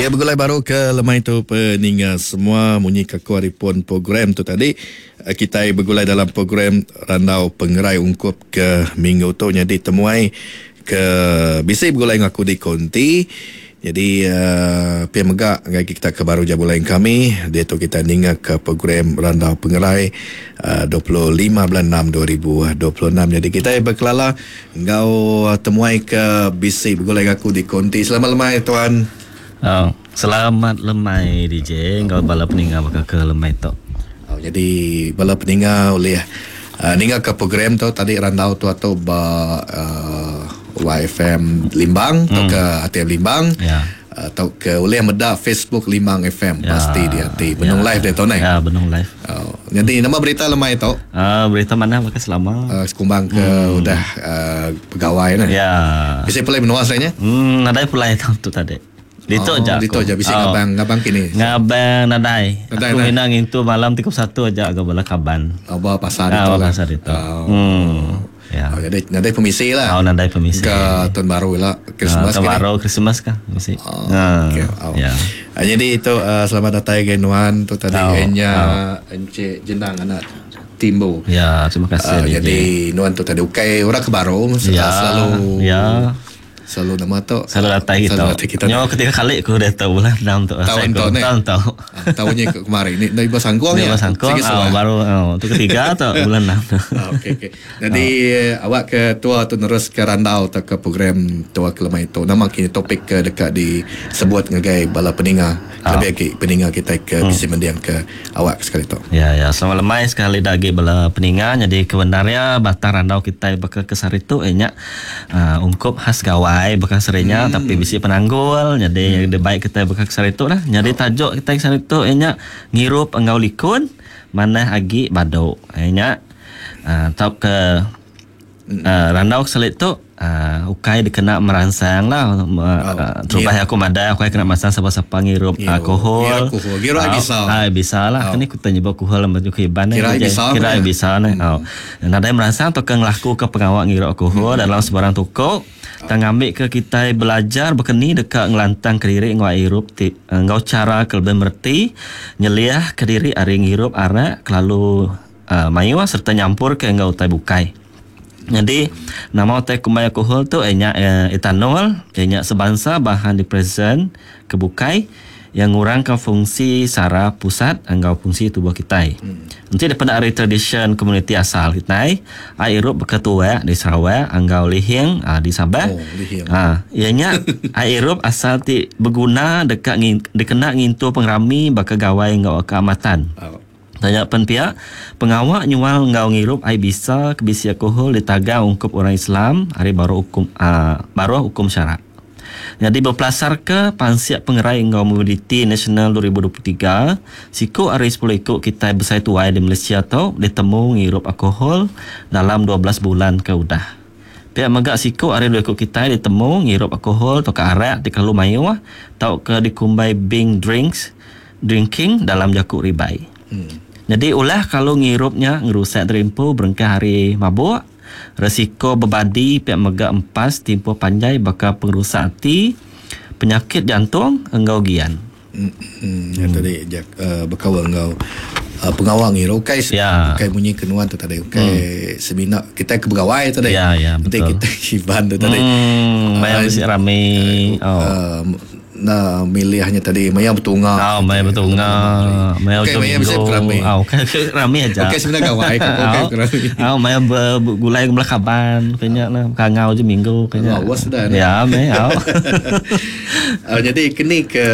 Ya begulai baru ke lemai tu peninga semua munyi ke aku ari pun program tu tadi eh, kitai begulai dalam program randau pengerai ungkup ke minggu tu nyadi temuai ke bisi begulai enggau aku di konti. Nyadi uh, pia mega ngagai kita ke baru jabulai kami diatu kita ninga ke program Randau Pengerai uh, 25 bulan 6 2026. Jadi kita berkelala enggau temuai ke bisi begulai dengan aku di konti. Selamat lemai tuan. Oh, selamat lemai DJ enggau bala peninga baka ke lemai tu. Oh, jadi bala peninga oleh uh, ninga ke program tu tadi randau tu atau ba uh, YFM Limbang atau ke ATM Limbang Ya. atau ke oleh meda Facebook Limbang FM Ya. pasti dia ti benung Ya. live dia tu nai. Ya, benung live. Oh, jadi nama berita lemai tu Ah, berita mana baka selama? sekumbang ke udah pegawai nah. Ya. Bisa pulai menua saya Nadai pulai tu tu tadi. Dito oh, aja. Dito aku. aja bisa Oh. ngabang ngabang kini. Ngabang nadai. Nadai, Aku nadai. minang itu malam 31 aja agak bala kaban. Oh, bawa pasar Ah, itu lah. pasar itu. Oh. Hmm. Ya. Oh, jadi nadai pemisi lah. Oh, nadai pemisi. Ke tahun baru lah Christmas Ah, tahun kini. baru Christmas kah? Mesti. Oh, Ah, okay. Oh. Ya. Ah, jadi itu selamat datang ke Nuan tu tadi Oh, Enya Encik Jenang anak Timbu. Ya, terima kasih. Ah, DJ. jadi Nuan tu tadi ukai orang ke baru ya, selalu ya. selalu nama tu Selalu datang kita. Selalu datang kita. Nyo ketiga kali aku dah tahu bulan enam tu. Tahun tu ni. Tahun tu. Ah, tahunnya ke kemarin ni dari Basangkuang Dia ya. Sangkong, Sikit oh, suah. baru oh, tu ketiga tu bulan enam tu. Ah, okey okey. Jadi awak ke tua tu nerus ke randau atau ke program tua ke lemai tu. Nama kini topik ke dekat disebut ngagai bala peninga. Lebih lagi peninga kita ke bisi mendiang ke awak sekali tu. Ya ya, selamat lemai sekali lagi bala peninga. Jadi kebenarnya batang randau kita bakal ke sehari tu eh, nya ungkup khas gawai bakal serinya tapi bisi penanggul. Jadi hmm. baik kita bakal ke sehari tu lah. Jadi tajuk kita ke sehari tu eh, nya ngirup enggau likun manah agi baduk. Eh, nya tau ke randau selit tu ukai dikena merangsang lah terubah aku madai ukai kena merangsang siapa-siapa ngirup Ngirup. alkohol Ngirup alkohol. Ngirup Ah, bisa. Ah, bisa lah. Kini ku tanya alkohol macam ku iban Kira bisa Kira apa bisa ni. Oh. Nadai merangsang atau ke ngelaku ke pengawak ngirup alkohol dalam sebarang toko. Tang ambil ke kita belajar berkeni dekat ngelantang ke diri ngau irup ti ngau cara ke lebih merti nyeliah ke diri ari ngirup arak kelalu mayu serta nyampur ke ngau utai bukai. Jadi nama utai kumai alkohol tu ianya etanol, ianya sebansa bahan depresan kebukai yang ngurangkan fungsi saraf pusat enggau fungsi tubuh kita. Nanti daripada ari tradition community asal kita, ai irup berketua di Sarawak, enggau lihing di Sabah. Oh, lihing. Ha, ianya ai irup asal ti berguna dekat ngin, dikena ngintu pengerami bakal gawai enggau keamatan. Oh. Tanya pen pihak pengawak nyual ngau ngirup ai bisa kebisi alkohol ditaga ungkup orang Islam hari baru hukum baru hukum syarak. Jadi berpelasar ke Pansiak Pengerai Enggau Mobility Nasional 2023, siku hari 10 ikut kita besai tuai di Malaysia tu ditemu ngirup alkohol dalam 12 bulan ke udah. Pihak megak siku hari dua ikut kita ditemu ngirup alkohol atau ke arak di kelalu mayu atau ke dikumbai bing drinks drinking dalam jakuk ribai. Jadi ulah kalau ngirupnya ngerusak terimpu berengkah hari mabuk, resiko bebadi pihak megak empas tempoh panjai bakal pengerusak hati, penyakit jantung enggau gian. Yang tadi jak berkawal enggau pengawal ngiru ukai Ya. ukai bunyi kenuan tu tadi ukai semina kita ke pegawai tadi. Ya, ya, Nanti betul. kita iban tu tadi. Maya mesti rame. Oh. Nah milihnya tadi maya bertunga. Oh, maya betul ngah. Maya Okey, ujung maya mesti minggu. rame. Oh, okey rame aja. Okey sebenarnya gawai okey rame. Oh, maya bergulai ke kaban kayaknya lah kangau je minggu kayaknya. Lawas dah ni. Ya, maya. Oh. Jadi kini ke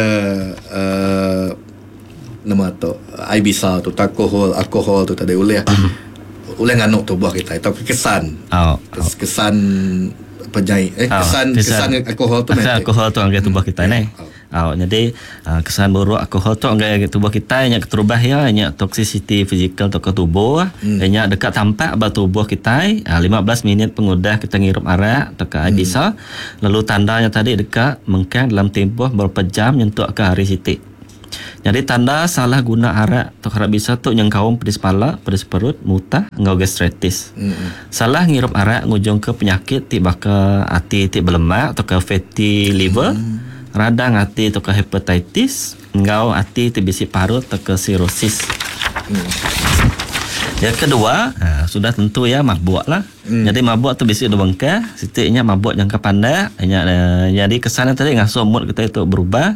nama tu ai bisa tu alkohol alkohol tu tadi oleh oleh nganuk tubuh kita atau kesan Oh. kesan penyai eh Ah, kesan kesan alkohol tu kesan nanti. alkohol tu anggai tubuh kita ni. Oh, jadi kesan buruk alkohol tu anggai tubuh kita nya keterubah ya nya toxicity fizikal tu ke tubuh, nya dekat tampak ba tubuh kita 15 minit pengudah kita ngirup arak atau ke air bisa. Lalu tandanya tadi dekat mengkang dalam tempoh beberapa jam nyentuk ke hari sitik. Jadi tanda salah guna arak atau arak bisa tu yang kaum pedis pala, pedis perut, mutah, enggau gastritis. Salah ngirup arak ngujung ke penyakit ti baka hati ti berlemak atau ke fatty liver. radang ati tauka hepatitis enggau ati ti bisi parut tauka sirosis. Yang kedua, sudah tentu iya mabuk lah. Nyadi mabuk tu bisi dua bengkah, siti nya mabuk jangka pandak, nya nyadi kesan nya tadi ngasuh mood kitai tu berubah.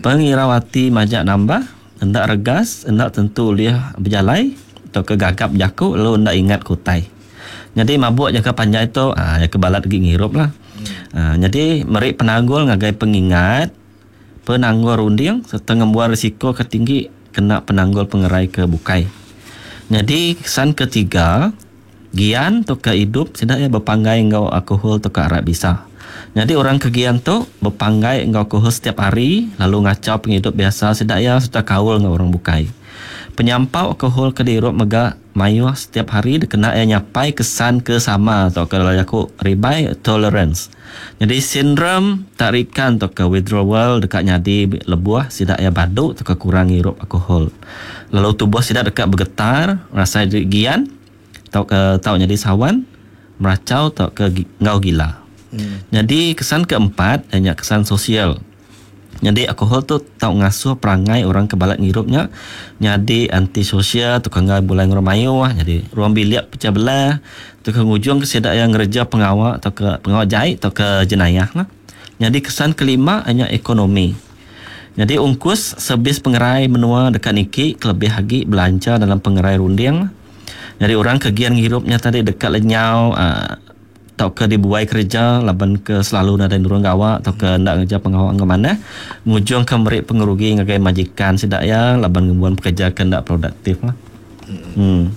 Pengirau ati majak nambah, enda regas, enda tentu ulih bejalai tauka gagap jaku lalu enda ingat ke utai. Nyadi mabuk jangka panjai tu iya ke balat agi ngirup lah. Nyadi meri penanggul ngagai pengingat, penanggul runding sereta ngembuan risiko ke tinggi kena penanggul pengerai ke bukai. Nyadi kesan ketiga, gian tauka idup sida iya bepanggai enggau alkohol tauka arak bisa. Nyadi orang ke gian tu bepanggai enggau alkohol setiap hari lalu ngachau pengidup biasa sida iya sereta kaul enggau orang bukai. Penyampau alkohol ke diirup mega mayuh setiap hari dikena iya nyapai kesan ke sama tauka dalam jaku ribai tolerance. Nyadi sindrom tarikan tauka withdrawal deka nyadi lebuh sida iya badu tauka kurang ngirup alkohol. Lalu tubuh sida deka begetar, rasai diri gian tauka tau nyadi sawan, merachau tauka enggau gila. Nyadi kesan keempat iya nya kesan sosial. Nyadi alkohol tu tau ngasuh perangai orang ke balat ngirup nya nyadi antisosial tauka enggai begulai enggau orang mayuh nyadi ruang bilik pecah belah tauka ngujungka sida iya ngereja pengawa tauka pengawa jai tauka jenayah lah. Nyadi kesan kelima iya nya ekonomi. Nyadi ungkus servis pengerai menua deka niki kelebih agi belanja dalam pengerai runding. Nyadi orang ke gian ngirup nya tadi deka lenyau uhh tauka dibuai kereja laban ke selalu nadai nurun gawa tauka enda ngereja pengawa enggau manah ngujungka meri pengerugi ngagai majikan sida iya laban ngembuan pekerja ke enda produktif lah. Hmm.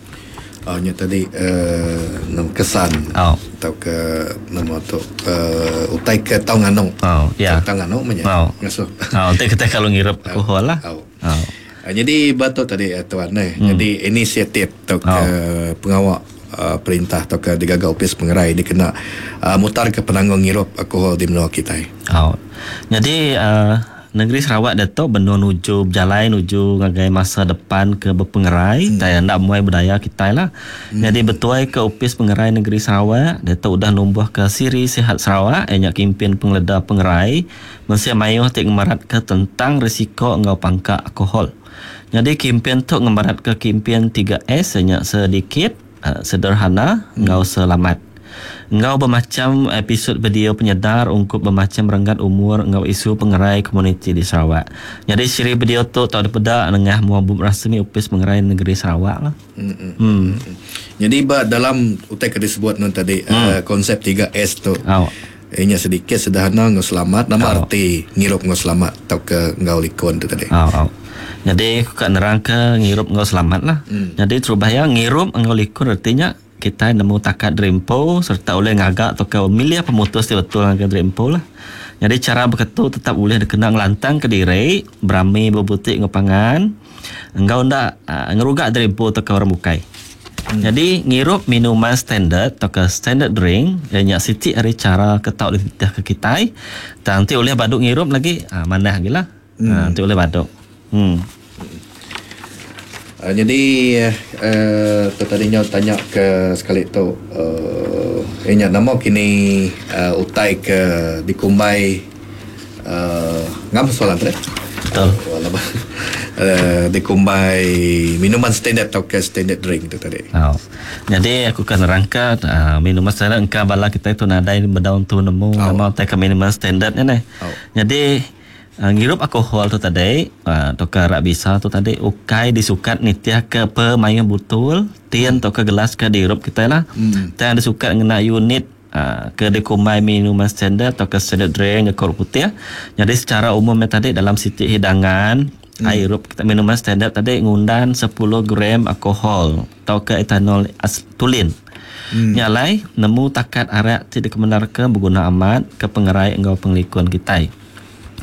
Oh nya tadi uhh nama kesan oh. tauka nama tu uhh utai ke tau nganu. Oh ya. Tau nganu meh nya. Oh. Ngasuh. Oh enti kitai kalau ngirup alkohol lah. Oh. Oh. Nyadi ba tu tadi tuan neh. Hmm. Nyadi inisiatif tauka oh. pengawa uh, perintah tauka digaga opis pengerai dikena uh, mutarka penanggul ngirup alkohol di menua kitai. Oh. Nyadi uh, negeri Sarawak diatu benung nuju bejalai nuju ngagai masa depan ke bepengerai hmm. tai enda muai budaya kitai lah. Hmm. Nyadi betuai ke opis pengerai negeri Sarawak diatu udah numbuhka Siri Sihat Sarawak iya nya kimpin pengeleda pengerai Mensia mayuh ti ngemeratka tentang risiko enggau pangka alkohol. Nyadi kimpin tu ngemeratka kimpin 3S iya nya sedikit, sederhana enggau selamat. Enggau bemacham episod video penyedar ungkup bemacham renggat umur enggau isu pengerai komuniti di Sarawak. Nyadi siri video tu tau dipeda nengah mua bup rasmi Opis Pengerai Negeri Sarawak lah. Hmm. Nyadi ba dalam utai ke disebut nun tadi konsep 3S tu. Iya nya sedikit, sederhana enggau selamat. Nama oh. arti ngirup enggau selamat tauka enggau likun tu tadi? Oh, oh. Jadi aku ka nerangka ngirup enggau selamat lah. Hmm. Jadi terubah iya ngirup enggau likun reti nya kitai nemu takat diri empu sereta ulih ngaga tauka milih pemutus ti betul ngagai diri empu lah. Jadi chara beketu tetap ulih dikena ngelantangka diri, berami bebuti enggau pangan, enggau enda ngeruga diri empu tauka orang bukai. Nyadi ngirup minuman standard tauka standard drink iya nya siti ari chara ke tau dititihka kitai tang enti ulih badu ngirup lagi aaa manah agi lah. Aaa enti ulih badu. Em. Nyadi aaa tu tadi nyau tanya ke sekali tu aaa iya nya nama kini aaa utai ke dikumbai aaa ngam soalan tu deh. Betul. Uh, dikumbai minuman standard tauka standard drink tu tadi. Oh. Jadi aku kan nerangka uh, minuman standard engka bala kita tu nadai bedau tu nemu oh. nama utai ke minuman standard ni neh. Oh. Jadi uh, ngirup alkohol tu tadi uh, tauka arak bisa tu tadi ukai disukat nitih ke pemayuh butul tin tauka gelas ke diirup kita lah. Hmm. Tang disukat ngena unit ke dikumbai minuman standard tauka standard drink jaku orang putih. Nyadi secara umum nya tadi dalam siti hidangan hmm. ai irup kita minuman standard tadi ngundan 10 gram alkohol tauka etanol tulin. Hmm. Nya alai nemu takat arak ti dikemendarka beguna amat ke pengerai enggau pengelikun kitai.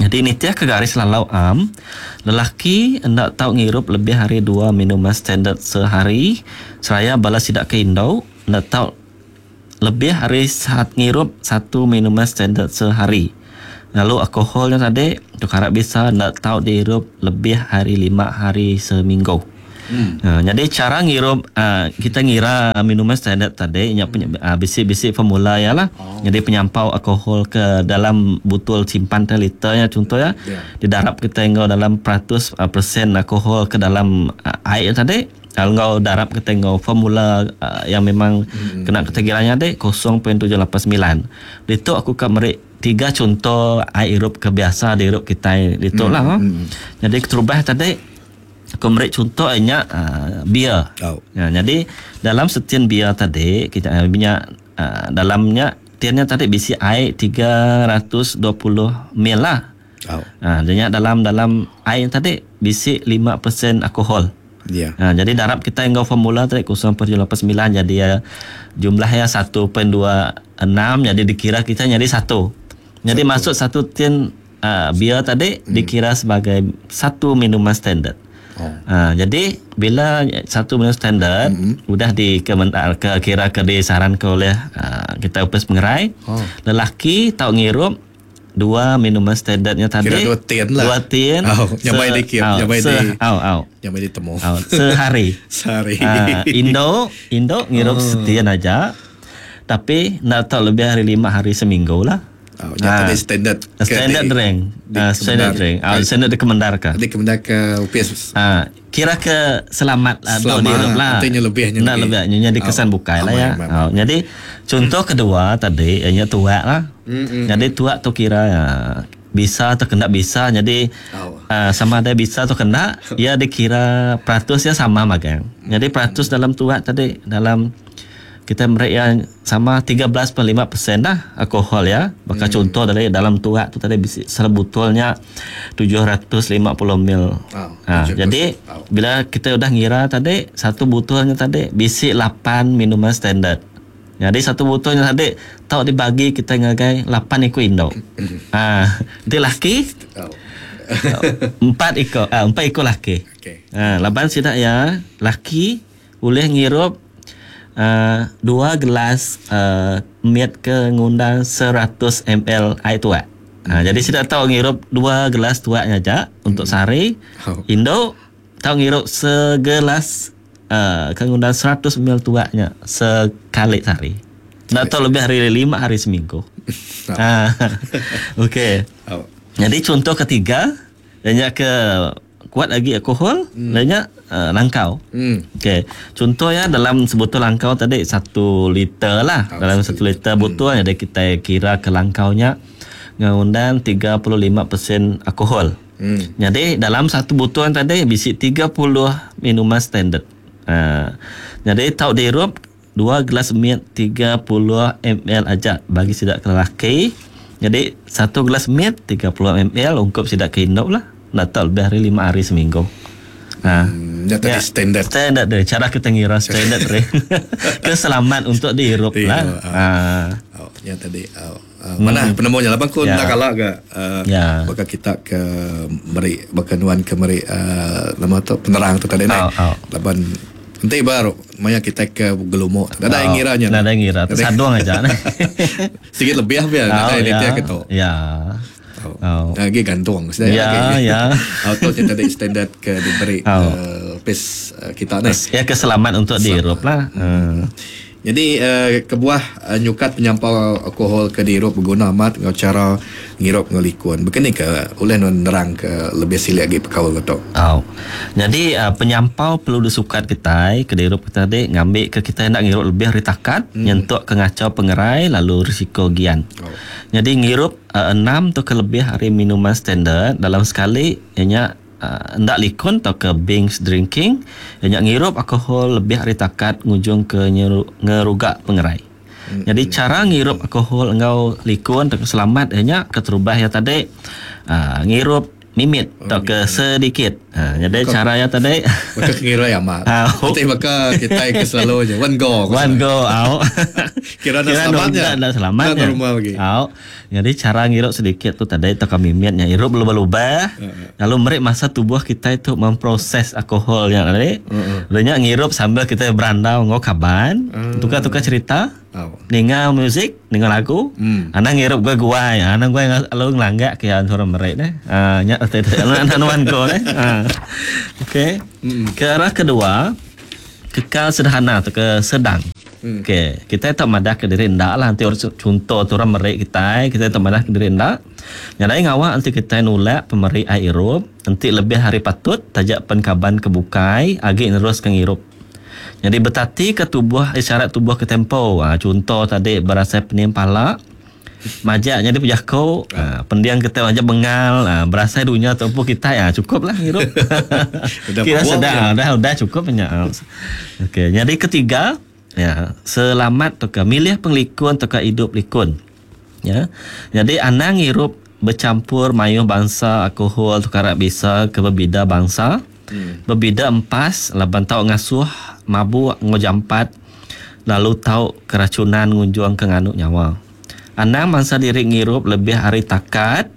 Nyadi nitih ke garis lalau am, lelaki enda tau ngirup lebih ari dua minuman standard sehari seraya bala sida ke indu enda tau Lebih ari saat ngirup satu minuman standard sehari. Lalu alkohol nya tadi tu karap bisa enda tau diirup lebih ari lima hari seminggu. Hmm. Jadi cara ngirup kita ngira minuman standard tadi nya hmm. Bisi-bisi formula ya lah. Oh. Jadi penyampau alkohol ke dalam botol simpan 10 liter ya contoh ya. Yeah. Didarap kita enggau dalam peratus persen alkohol ke dalam air tadi. Enggau darap kita enggau formula yang memang hmm. kena kita kiranya dek 0.789. Ditu aku ka meri tiga contoh air irup ke biasa diirup kita ditu lah. Jadi keterubah tadi aku meri contoh nya beer. Oh. Ya, jadi dalam setin beer tadi kita minyak dalamnya tinnya tadi bisi air 320 ml lah. Oh. Ha, jadi dalam dalam air tadi bisi 5% alkohol. Yeah. Ha, jadi darab kita enggau formula tadi 0.89 jadi ya, jumlahnya 1.26 jadi dikira kita jadi satu. Jadi satu. Masuk satu tin bir tadi dikira sebagai satu minuman standard. Oh. Ha, jadi bila satu minuman standard udah di ke kira ke disarankan oleh kita upes pengerai. Oh. Lelaki tau ngirup dua minuman standardnya tadi. Kira dua tin lah. Dua tin. Oh, nyamai dikit, nyamai di. Au. Nyamai ditemu. Au, sehari. Sehari. Indo ngirup setin aja. Tapi nak tahu lebih hari 5 hari seminggu lah. Oh, nyata di standard. Standard drink. Standard drink. Standard dikemendarkan. Dikemendarkan UPS. Kira ke selamat selamat lah. Artinya lebihnya. Nak lebihnya jadi kesan bukai lah ya. Jadi contoh kedua tadi ianya tuak lah. Jadi tuak tu kira ya, bisa atau kena bisa. Jadi sama ada bisa atau kena, ya dikira peratusnya sama magang. Jadi peratus dalam tuak tadi dalam kita mereka yang sama 13.5% dah alkohol ya. Maka contoh dari dalam tuak tu tadi sebotolnya 750 ml. Jadi bila kita udah ngira tadi satu botolnya tadi bisi 8 minuman standard. Jadi satu botolnya tadi tau dibagi kita ngagai 8 ekor induk. Dia laki 4 ekor 4 ekor laki. Okay. Laban sidak ya laki boleh ngirup 2 gelas miat ke ngundang 100 ml air tuak. Jadi saya tahu ngirup 2 gelas tuaknya aja untuk sehari. Induk tahu ngirup segelas ke ngundang 100 ml tuaknya sekali sehari. Tak tahu lebih hari 5 hari seminggu. Okey. Jadi contoh ketiga, banyak ke kuat lagi alkohol, banyak langkau. Okey. Contohnya dalam sebotol langkau tadi 1 liter lah. Dalam 1 liter botol jadi kita kira ke langkaunya ngundang 35% alkohol. Jadi dalam satu botol tadi bisi 30 minuman standard. Jadi tau dirup 2 gelas miat 30 ml aja bagi sidak ke lelaki. Jadi 1 gelas miat 30 ml ungkup sidak ke induk lah. Nak tahu lebih hari 5 hari seminggu. Ya, standard. Standard deh. Cara kita ngira standard deh. Keselamat untuk dihirup lah. Ya tadi. Mana penemunya lah bangku nak kalah ke? Maka kita ke meri bakanuan ke meri nama tu penerang tu tadi naik. Laban nanti baru maya kita ke gelumuk. Tak ada yang ngiranya. Tak ada yang ngira. Tersadung aja. Sikit lebih apa ya? Tak ada yang kita. Ya. Lagi gantung. Ya, ya. Auto tadi standard ke diberi pes kita ni. Ya keselamat untuk dihirup lah. Jadi kebuah nyukat penyampau alkohol ke dihirup berguna amat dengan cara ngirup ngelikun. Begini ke oleh nerang ke lebih silik lagi perkara tu. Oh. Jadi penyampau perlu disukat kita ke dihirup kita tadi ngambil ke kita nak ngirup lebih hari takat, nyentuk ke ngacau pengerai lalu risiko gian. Jadi ngirup 6 atau ke lebih hari minuman standard dalam sekali ianya ndak likun atau ke binge drinking ianya ngirup alkohol lebih hari takat ngujung ke ngerugak pengerai. Jadi cara ngirup alkohol engau likun atau selamat ianya keterubah ya tadi ngirup mimit atau ke sedikit. Jadi cara ya tadi maka ngira ya mak. Nanti maka kita ke selalu je one go. One go out. Kira dah selamatnya. Dah selamatnya. Rumah lagi. Out. Jadi cara ngirup sedikit tu tadi atau mimitnya irup lubah-lubah. Lalu merik masa tubuh kita itu memproses alkohol yang tadi. Lalunya ngirup sambil kita berandau ngau kaban, tukar-tukar cerita. Ninga muzik, ninga lagu, anang ngirup guai-guai, anang guai lalu ngelanggak ke iya orang meri neh. Nya reti tu anak nuan ko neh. Okey. Ke arah kedua, kekal sederhana tauka sedang. Okey, kitai tau madah ke diri enda lah enti orang chunto tu orang meri kitai, kitai tau madah ke diri enda. Nyadai ngawa enti kitai nulak pemeri ai irup, enti lebih ari patut taja pen kaban ke bukai agi neruska ngirup. Nyadi betatika tubuh isyarat tubuh ke tempo. Ha, chunto tadi berasai pening pala, majak nyadi pejaku, ha, pending kita majak bengal, ha, berasai dunya tu empu kitai, ha, cukup lah ngirup. Udah Kira mabuk sedang, ya. ha, udah udah cukup nya. Ha. Okey, nyadi ketiga, ya, selamat tauka milih pengelikun tauka idup likun. Ya. Nyadi anang ngirup bechampur mayuh bansa alkohol tauka arak bisa ke bebida bansa. Bebida empas laban tau ngasuh mabuk enggau jampat lalu tau keracunan ngunjungka nganu nyawa. Anang bansa diri ngirup lebih ari takat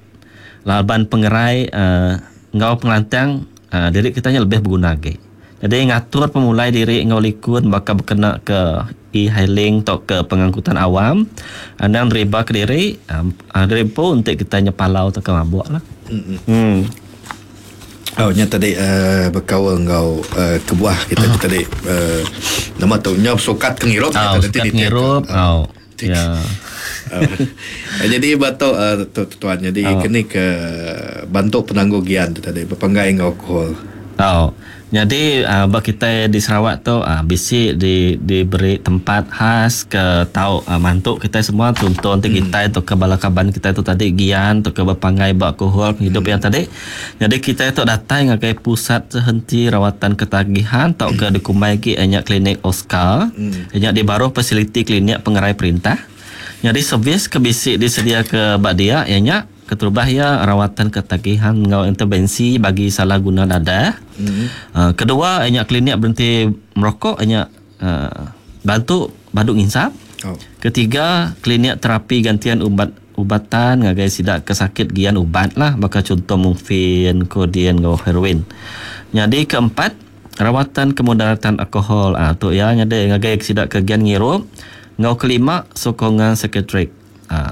laban pengerai enggau pengelantang diri kita nya lebih beguna agi. Nyadi ngatur pemulai diri enggau likun baka bekena ke e-hailing tauka pengangkutan awam anang deriba kediri diri empu enti kita nyepalau tauka mabuk lah. Emm. Oh nya tadi uhh bekaul enggau uhh kebuah kita ti tadi uhh nama tu nyau sukat ke ngirup Au sukat ngirup au ya. Jadi ba tu uhh tu tuan jadi keni ke bantu penanggul gian tu tadi bepanggai enggau alkohol. Au. Nyadi ba kitai di Sarawak tu bisi di diberi tempat khas ke tau mantu kitai semua chunto enti kitai tauka bala kaban kitai tu tadi gian tauka bepanggai ba alkohol pengidup iya tadi. Nyadi kitai tu datai ngagai Pusat Sehenti Rawatan Ketagihan tauka dikumbai agi iya nya Klinik Oscar iya nya di baruh fasiliti klinik pengerai perintah. Nyadi servis ke bisi disediaka ba dia iya nya. Keterubah iya, rawatan ketagihan enggau intervensi bagi salah guna dadah. Kedua iya nya klinik berhenti merokok iya nya bantu badu nginsap. Ketiga, klinik terapi gantian ubat ubatan ngagai sida ke sakit gian ubat lah baka chunto morfin, codeine enggau heroin. Nyadi keempat, rawatan kemudaratan alkohol tu iya nyadi ngagai sida ke gian ngirup. Enggau kelima, sokongan psikiatrik.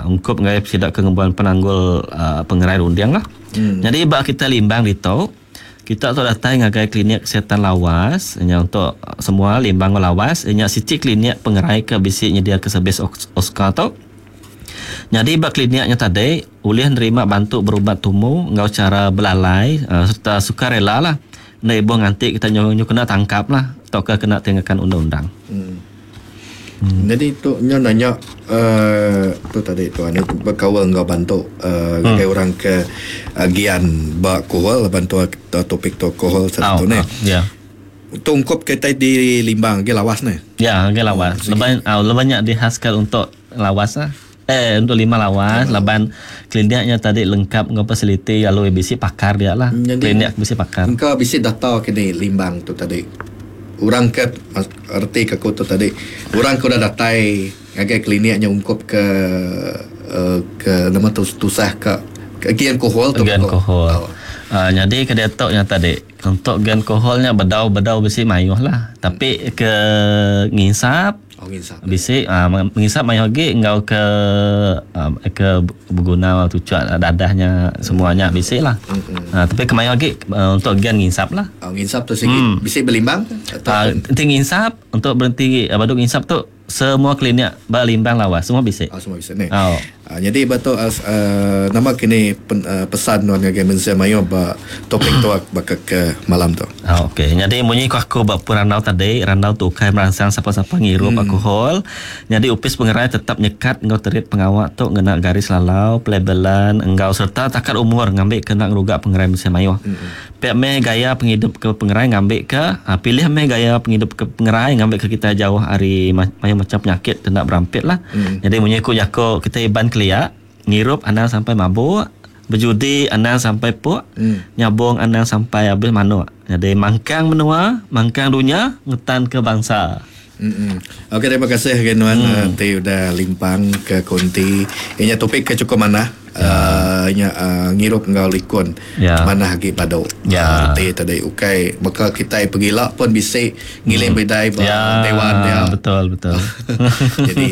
Ungkup ngagai sida ke ngembuan penanggul pengerai runding lah. Nyadi ba kita Limbang ditu, kita tu datai ngagai klinik kesihatan Lawas nya untuk semua Limbang enggau Lawas nya siti klinik pengerai ke bisi nyediaka servis Oscar tu. Nyadi ba klinik nya tadi ulih nerima bantu berubat tumu enggau chara belalai sereta sukarela lah. Enda ibuh nganti kita nyu kena tangkap lah tauka kena tingakan undang-undang. Nyadi tu nya nanya uhh tu tadi tuan bekaul enggau bantu uhh ngagai orang ke gian ba alkohol laban tu topik tu alkohol saritu neh. Tu ungkup kitai di Limbang agi lawas neh. Ya agi lawas laban laban nya dihaskan untuk lawas lah eh untuk lima lawas laban klinik nya tadi lengkap enggau fasiliti lalu bisi pakar dia lah klinik bisi pakar. Engka bisi data kini Limbang tu tadi. Orang ke reti ke aku tu tadi orang ke udah datai ngagai klinik nya ungkup ke ke nama tu tusah ka gian alkohol tu Gian alkohol. Nyadi ke diatu nya tadi untuk gian alkohol nya bedau bedau bisi mayuh lah tapi ke nginsap Oh nginsap. Bisi nginsap mayuh agi enggau ke ke beguna tuchuk dadah nya semua nya bisi lah. Tapi ke mayuh agi untuk gian nginsap lah. Oh nginsap tu sigi bisi belimbang atau enti nginsap untuk berhenti badu nginsap tu semua klinik ba Limbang Lawas semua bisi. Oh semua bisi neh. Oh. Nyadi ba tu nama kini pesan nuan ngagai mensia mayuh ba topik tu baka ke malam tu. Ok nyadi munyi ku aku ba pun randau tadi randau tu ukai meransang sapa-sapa ngirup alkohol. Nyadi opis pengerai tetap nyekat enggau terit pengawa tu ngena garis lalau, pelabelan enggau sereta takat umur ngambika enda ngeruga pengerai mensia mayuh. Pia meh gaya pengidup ke pengerai ngambika pilih meh gaya pengidup ke pengerai ngambika kitai jauh ari mayuh macam penyakit ti enda berampit lah. Nyadi munyi ku jaku kitai Iban kelia ngirup anang sampai mabuk, bejudi anang sampai puk, nyabung anang sampai abis manuk. Nyadi mangkang menua, mangkang dunya ngetanka bangsa. Okey terima kasih ke nuan hmm. ti udah limpang ke konti. Inya topik ke cukup manah. Ya. Inya ngirup enggau likun. Ya. Manah agi badu. Ya. Reti tadi ukai baka kitai pegila pun bisi ngiling bidai ba ya. dewan dia. Betul betul. Jadi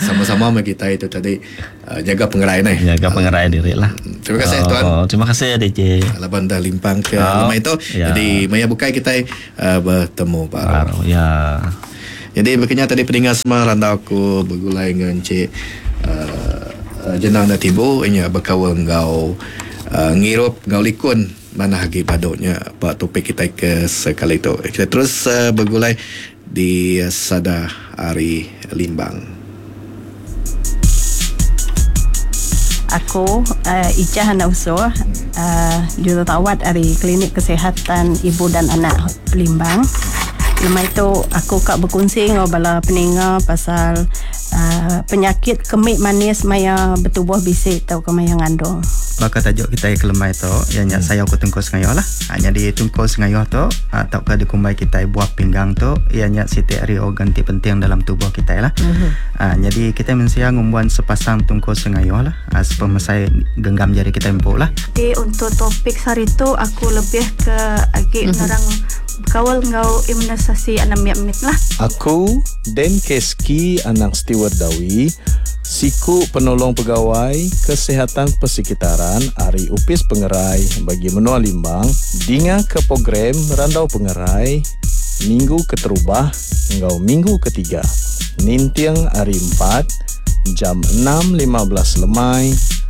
sama-sama meh kitai tu tadi jaga pengerai neh. Jaga pengerai diri lah. Terima kasih tuan. Oh, terima kasih DJ. Laban dah limpang ke oh. lemai tu. Ya. Jadi maya bukai kitai betemu baru. Baru ya. Jadi bekenya tadi peninga semua randau aku begulai enggau encik uh, Jenang da Tibu inya bekaul enggau uh, ngirup enggau likun manah agi badu nya ba topik kitai ke sekali tu. Kita terus uh, begulai di Sada Ari Limbang. Aku uh, Ijah anak usuh jururawat ari Klinik Kesihatan Ibu dan Anak Limbang. Lemai tu aku ka bekunsi enggau bala peninga pasal uh, penyakit kemik manis maya betubuh bisi tauka maya ngandung. Baka tajuk kitai ke lemai tu iya nya sayau ke tungkul sengayuh lah. Ha, nyadi tungkul sengayuh tu ha, tauka dikumbai kitai buah pinggang tu iya nya siti ari organ ti penting dalam tubuh kitai lah. Ha, nyadi kitai mensia ngumbuan sepasang tungkul sengayuh lah ha, sepemesai genggam jari kitai empu lah. Jadi untuk topik sehari tu aku lebih ke agi nerang bekaul enggau imunisasi anak mit-mit lah. Aku, Dan Keski anak Steward Dawi, siku penolong pegawai Kesihatan Persekitaran ari Opis Pengerai Bagi Menua Limbang dinga ke program Randau Pengerai minggu keterubah enggau minggu ketiga ninting hari Empat jam 6.15 lemai.